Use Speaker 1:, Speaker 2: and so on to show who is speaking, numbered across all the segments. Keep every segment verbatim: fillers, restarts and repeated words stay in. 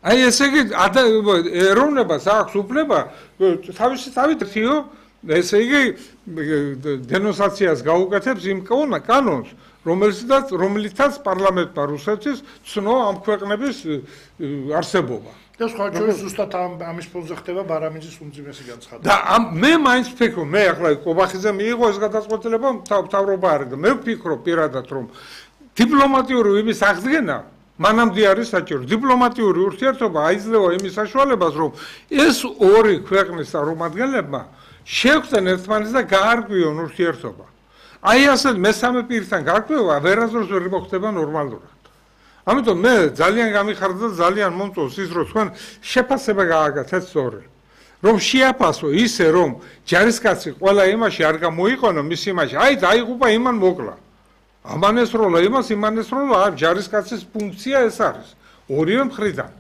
Speaker 1: აი ესე იგი ეროვნებას აქვს უფლება თავისი თავით თიო ესე იგი დენონსაციას გაუკეთებს იმ კანონს რომელსაც რომელიცაც პარლამენტმა რუსეთის ცნო ამ ქვეყნების არსებობა.
Speaker 2: და სხვა შორის ზუსტად ამის ფონზე ხდება ბარამიძის უმძიმესი განცხადება.
Speaker 1: და მე მაინც ვფიქრობ, მე ახლა კობახიძე მიიღო ეს გადაწყვეტილება მთავრობა არის და მე ვფიქრობ პირადად რომ დიპლომატიური იმის აღდგენა მანამდე არის საჭირო. დიპლომატიური ურთიერთობა აიძლევა იმის საშუალებას რომ ეს ორი ქვეყნის წარმომადგენლებმა შეხვდნენ ერთმანეთს და გაარკვიონ ურთიერთობა. აი ასე მესამე პირთან გარკვევა ვერასდროს ვერ მოხდება ნორმალურად. ამიტომ მე ძალიან გამიხარდა და ძალიან მომწონს ის რომ თქვენ შეფასება გააკეთეთ სწორი. რომ შეაფასო ისე რომ ჯარისკაცი ყველა იმაში არ გამოიყენო მის იმაში, აი დაიღუპა იმან მოკლა. ამან ესროლა იმას, იმან ესროლა ჯარისკაცის ფუნქცია ეს არის. ორივე მხრიდან.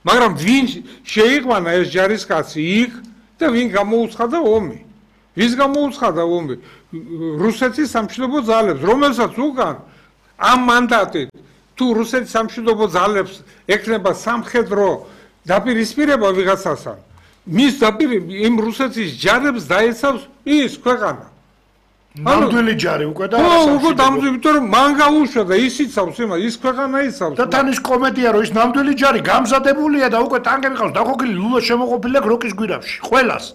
Speaker 1: მაგრამ ვინ შეიყვანა ეს ჯარისკაცი იქ და ვინ გამოუცხადა ომი? ვის გამოუცხადა ომი? რუსეთის სამშვიდობო ძალებს, რომელსაც უკან ამ მანდატით თუ რუსეთის სამშვიდობო ძალებს ექნება სამხედრო დაპირისპირება ვიღაცასთან, მის დაპირ იმ რუსეთის ჯარებს დაეცავს ის ქვეყანა.
Speaker 2: ნამდვილი ჯარი უკვე და
Speaker 1: უკვე დამძი, იმიტომ რომ მან გაუშვა და ის იცავს იმას, ის ქვეყანა იცავს.
Speaker 2: და თან ის კომედია რომ ის ნამდვილი ჯარი გამზადებულია და უკვე ტანკები ყავს დახოქილი ლულა შემოყოფილია როკის გვირაბში, ყველას.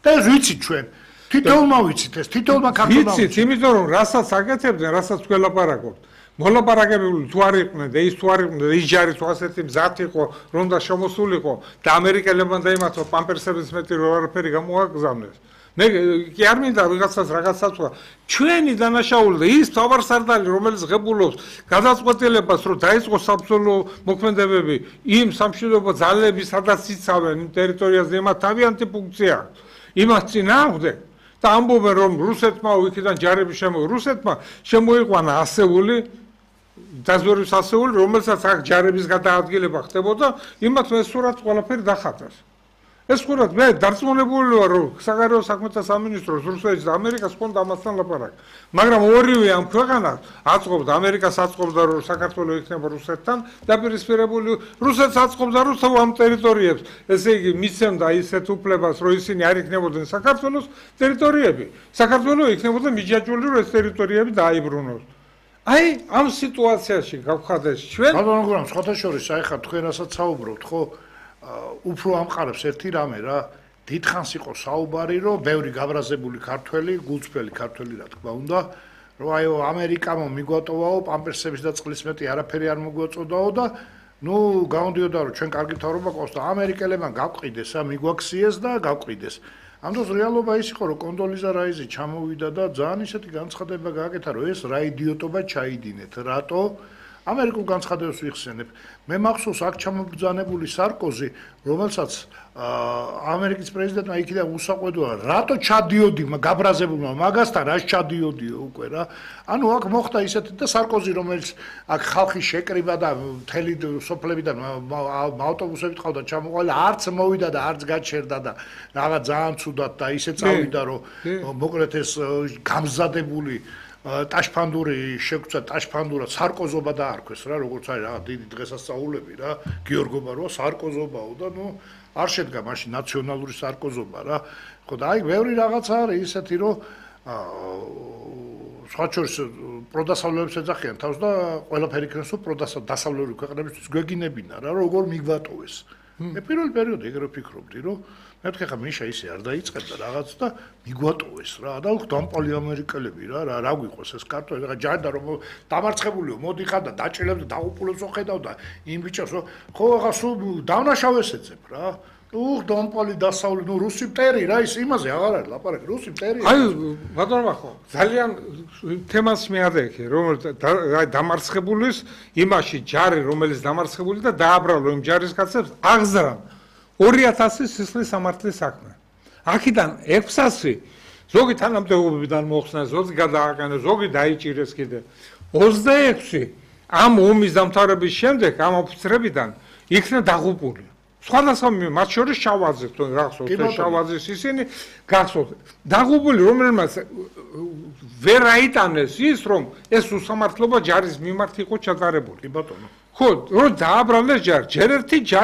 Speaker 2: და ეს ვიცით ჩვენ. თითოეულმა ვიცით ეს, თითოეულმა ქართველმა
Speaker 1: ვიცით, იმიტომ რომ რასაც აკეთებდნენ, რასაც თქვენ ლაპარაკობთ. მოლაპარაკებული თუ არ იყვნენ და ის თუ არ იყვნენ და ის ჯარი თუ ასეთი მზად იყო, რომ და შემოსულიყო და ამერიკელებმა დაიმართვა პამპერსების მეტი რო არაფერი გამოაგზავნეს. მე კი არ მინდა ვიღაცას რაღაცას თქვა. ჩვენი დანაშაული და ის მთავარსარდალი, რომელიც ღებულობს გადაწყვეტილებას, რომ დაიწყოს საბრძოლო მოქმედებები იმ სამშვიდობო ძალების, სადაც იცავენ იმ ტერიტორიაზე, იმათ თავიანთი ფუნქცია აქვს. იმას წინააღმდეგ და ამბობენ რომ რუსეთმა იქიდან ჯარები შემო რუსეთმა შემოიყვანა ასეული დაზვერვის ასეული რომელსაც აქ ჯარების გადაადგილება ხდებოდა იმათ ეს სურათ ყველაფერი დახატეს ეს სურათ მე დარწმუნებული ვარ რომ საგარეო საქმეთა სამინისტროს რუსეთის და ამერიკას ჰქონდა ამასთან ლაპარაკი მაგრამ ორივე ამ ქვეყანას აწყობდა ამერიკას აწყობდა რომ საქართველოს იქნება რუსეთთან დაპირისპირებული რუსეთს აწყობდა რომ თავ ამ ტერიტორიებს ესე იგი მისცემდა ისეთ უფლებას რომ ისინი არ იქნებოდნენ საქართველოს ტერიტორიები საქართველოს იქნებოდა მიჯაჭვული რომ ეს ტერიტორიები დაიბრუნოს აი ამ სიტუაციაში გავხადეს ჩვენ
Speaker 2: ბატონო გურამ სხვათა შორის აი ხა თქვენ რასაც საუბრობთ ხო უფრო ამყარებს ერთი რამე რა დიდხანს იყო საუბარი რომ ბევრი გაბრაზებული ქართველი გულწრფელი ქართველი რა თქმა უნდა რომ აი ამერიკამ მიგვატოვაო პამპერსების და წყლის მეტი არაფერი არ მოგვაწოდაო და ნუ გამოდიოდა რომ ჩვენ კარგი თავრობა ყავს და ამერიკელებმა გავყიდეს ა მიგვაქციეს და გავყიდეს ამ დროს რეალობა ის იყო რომ კონდოლიზა რაიზი ჩამოვიდა და ძალიან ისეთი განცხადება გააკეთა რომ ეს რა იდიოტობა ჩაიდინეთ რატო ამერიკულ განცხადებას ვიხსენებ. მე მახსოვს აქ ჩამობრძანებული სარკოზი, რომელსაც ამერიკის პრეზიდენტმა იქიდან უსაყვედოა, რატო ჩადიოდი გაბრაზებულმა მაგასთან რა ჩადიოდიო უკვე რა. ანუ აქ მოხდა ისეთი და სარკოზი რომელიც აქ ხალხი შეკრიბა და მთელი სოფლებიდან ავტობუსებით ყავდა ჩამოყალიბდა, არც მოვიდა და არც გაჩერდა და რაღაც ძალიან ცუდად და ისე წავიდა რომ მოკლედ ეს გამზადებული ტაშფანდური შეგვცა ტაშფანდურა სარკოზობა დაარქვეს რა როგორც არის რა დიდი დღესასწაულები რა გიორგობა რო სარკოზობაო და ნუ არ შედგა მაშინ ნაციონალური სარკოზობა რა ხო და აი ბევრი რაღაცა არის ისეთი რომ სხვა შორის პროდასავლებს ეძახიან თავს და ყველაფერი იქნას რომ პროდასავლური ქვეყნებისთვის გვეგინებინა რა როგორ მიგვატოვეს მე პირველ პერიოდში ეგრე ვფიქრობდი რომ მეთქე ხა მიშა ისე არ დაიწყებდა რაღაც და მიგვატოვეს რა და დამპალი ამერიკელები რა რა რა გვიყოს ეს კარტოები რა ჯარდა რომ დამარცხებულიო მოდიხარ და დაჭილებს და დაუპულებს ხედავ და იმ ბიჭებს რომ ხო ახლა სულ დავნაშავეს ეცებ რა უх დამპალი დასავლი ნუ რუსი მტერი რა ის იმაზე აღარ არის ლაპარაკი რუსი მტერი
Speaker 1: აი ბატონო ხო ძალიან თემას მეადექე რომ დამარცხებულის იმაში ჯარი რომელიც დამარცხებული და დააბრალო იმ ჯარისკაცებს აღზრა ორი ათასი სისხლის სამართლის საქმე. აქედან ექვსი ათასი ზოგი თანამდებობიდან მოხსნა, ზოგი გადააყენეს, ზოგი დაიჭირეს კიდე. ოცდაექვსი ამ ომის დამთავრების შემდეგ ამ ოფიცრებიდან იქნა დაღუპული. სხვადასხვა მათ შორის შავაძე, თუ გახსოვთ, შავაძის ისინი გახსოვთ. დაღუპული რომელმაც ვერ აიტანეს ის რომ ეს უსამართლობა ჯარის მიმართ იყო ჩატარებული.
Speaker 2: კი ბატონო.
Speaker 1: ხო, რომ დააბრალეს ჯარი, ჯერ ერთი